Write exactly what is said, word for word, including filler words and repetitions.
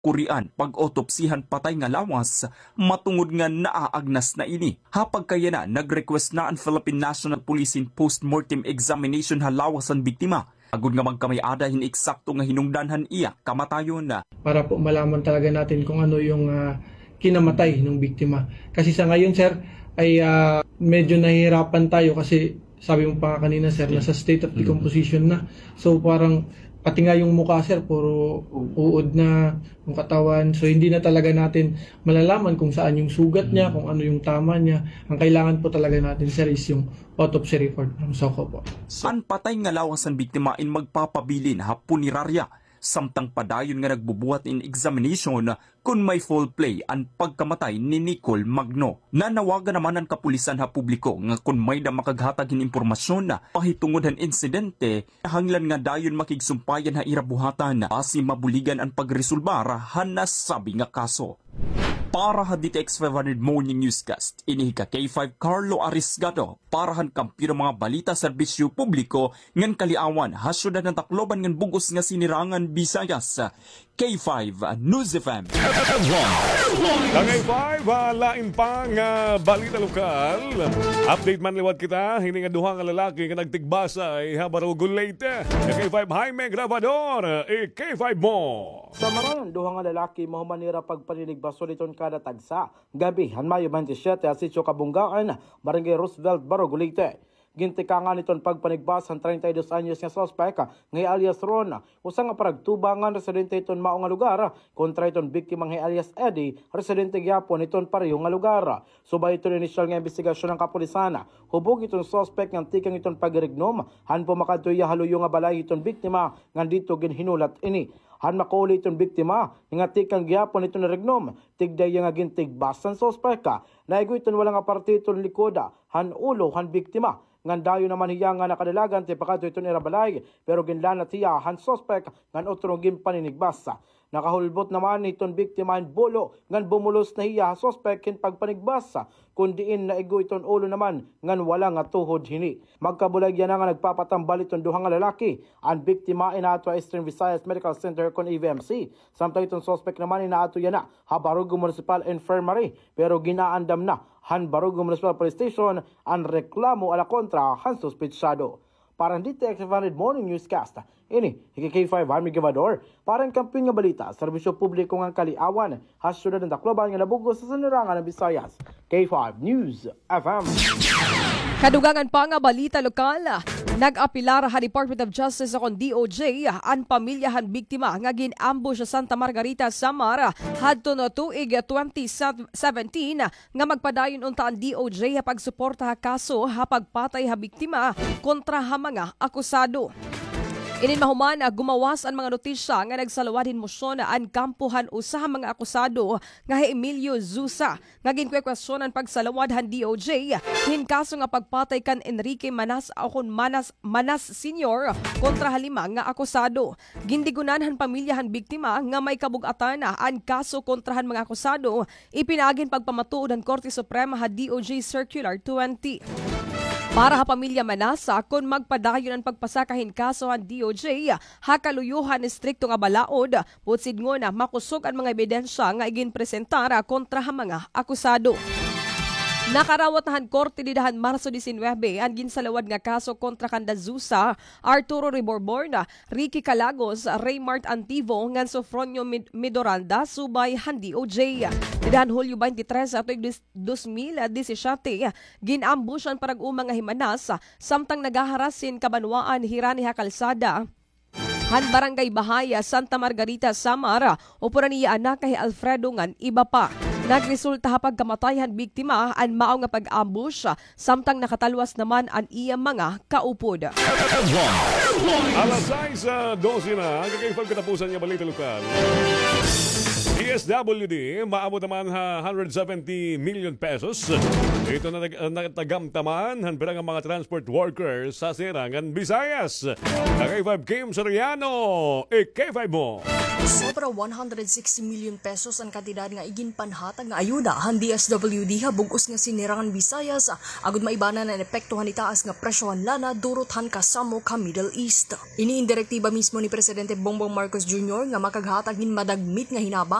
kurian pag-autopsy han patay nga lawas, matungod nga naaagnas na ini. Ha pagkayana, nag-request na an Philippine National Police hin post-mortem examination ha lawas han biktima, agod nga magkamay-ada hin eksakto nga hinungdan han iya kamatayon. Para po malaman talaga natin kung ano yung, ah, kinamatay ng biktima. Kasi sa ngayon, sir, ay, ah, medyo nahihirapan tayo kasi sabi mo pa nga kanina, sir, nasa state of decomposition na. So, parang pati nga yung mukha, sir, puro uod na yung katawan. So, hindi na talaga natin malalaman kung saan yung sugat niya, kung ano yung tama niya. Ang kailangan po talaga natin, sir, is yung autopsy report from SOCO po. An patay nga lawas han biktima in magpapabilin ha punerarya, samtang padayon nga nagbubuhat in examination kon may foul play an pagkamatay ni Nicole Magno. Nanawagan naman an kapulisan ha publiko nga kon may-da makaghatag hin impormasyon mahitungod han insidente, kinahanglan nga dayon makigsumpayan ha ira buhatan basi mabuligan an pagresolbar han nasabi nga kaso. Para ha D T X five hundred Morning Newscast, ini hi ka K five Carlo Arisgado, para han Kampiyon han mga Balita, Serbisyo Publiko ngan Kaliawan, ha syudad han Tacloban ngan bug-os nga Sinirangan Visayas. K five News F M. Ka K five, ah, lain pa nga balita lokal. Update man liwat kita, hini nga duha nga lalaki nga nagtigbasay ha Barugo, Leyte. Ka K five Jaime Grabador, i-K five mo. Sa Marayon, duha nga lalaki mahuman nira pagpaninigbason iton kada tagsa, gab-i han Mayo twenty-seven, ha Sitio Kabunggaan, Barangay Roosevelt, Barugo, Leyte. Gintikangan iton pagpanigbas han treinta y dos anyos nga suspek nga hi alias Ron, usa nga paragtubangan residente iton mao nga lugar, kontra iton biktima nga hi alias Eddie, residente gihapon iton pareho nga lugar. Subay iton inisyal nga imbestigasyon han kapulisan, hubog iton suspek ngan tikang iton pagirignom han pumakadto hiya ha luyo nga balay hiton biktima ngan didto ginhinulat ini. Han makauli iton biktima nga tikang gihapon iton irignom, tigda hiya nga gintigbas han suspek. Naigo iton wala nga parte iton likod han ulo han biktima, ngan dayon naman hiya nga nakadalagan tipakadto iton ira balay, pero ginlanat hiya han suspek ngan utro ginpaninigbas. Nakahulbot naman iton biktima hin bulo ngan bumulos na hiya ha suspek hin pagpanigbas, kon diin naigo iton ulo naman ngan wala nga tuhod hini. Magkabulag yana nga nagpapatambal iton duha nga lalaki. An biktima inaato ha Eastern Visayas Medical Center kon E V M C, samtang iton suspek naman inaato yana ha Barugo Municipal Infirmary, pero gin-aandam na han Barugo Municipal Police Station an reklamo ala kontra han suspetsado. Para han D T X five hundred Morning Newscast, ini hi K five Jaime Grabador, para han Kampiyon nga Balita, Serbisyo Publiko ngan Kaliawan, ha syudad han Tacloban nga nabug-os sa Sinirangan han Visayas. K five News F M. Kadugangan pa nga balita lokal, nag-apelar ha Department of Justice o kon D O J an pamilya han biktima nga gin-ambush sa Santa Margarita, Samar, hadton tuig twenty seventeen, nga magpadayon unta an D O J ha pagsuporta ha kaso ha pagpatay ha biktima kontra ha mga akusado. Inin mahuman, gumawas an mga notisya nga nagsalawad hin mosyon an kampo han usa ha mga akusado nga hi Emilio Zusa, nga ginkuwestiyon an pagsalawad han D O J hin kaso nga pagpatay kan Enrique Manas o kon Manas, Manas Senior kontra ha lima nga akusado. Gindigunan han pamilya han biktima nga may kabug-atan an kaso kontra han mga akusado, ipinaagi hin pagpamatuod han Korte Suprema ha D O J Circular twenty. Para ha pamilya Manasa, kon magpadayon an pagpasaka hin kaso han D O J ha kaluyo han estrikto nga balaod, buot sidngon makusog an mga ebidensya nga iginpresentar kontra ha mga akusado. Nakarawat na han korte dida han Marso disinuybe an ginsalawad nga kaso kontra kan Dazusa, Arturo Reborborn, Ricky Calagos, Raymart Antivo, ngan Sofronio Mid-, Midoranda, subay han D O J. Dida han Hulyo twenty-three sa tuig dis-, dos mil disisiete, gin-ambush an parag-uma nga hi Manas, samtang nagaharas hin kabanwaan hirani ha kalsada han Barangay Bahaya, Santa Margarita, Samar, upod an iya anak nga hi Alfredo ngan iba pa. Nagresulta ha pagkamatay han biktima an mao nga pag-ambush, samtang nakatalwas naman an iya mga kaupod. Alas sais, ah, dose na, ang kakaiba katapusan nga balita lokal. D S W D, maabot naman ha hundred seventy million pesos. Ito na nag-, natagamtaman han pira nga mga transport workers sa Silangan Visayas. Ang K five Kim Soriano, i-K five mo. Sobra one hundred sixty million pesos an kantidad nga iginpanhatag nga ayuda han D S W D ha bug-os nga Silangan Visayas, agod maibanan an epekto han itaas nga presyo han lana durot han kasamok ha Middle East. Ini in direktiba mismo ni Presidente Bongbong Marcos Junior nga makaghatag hin madagmit nga hinaba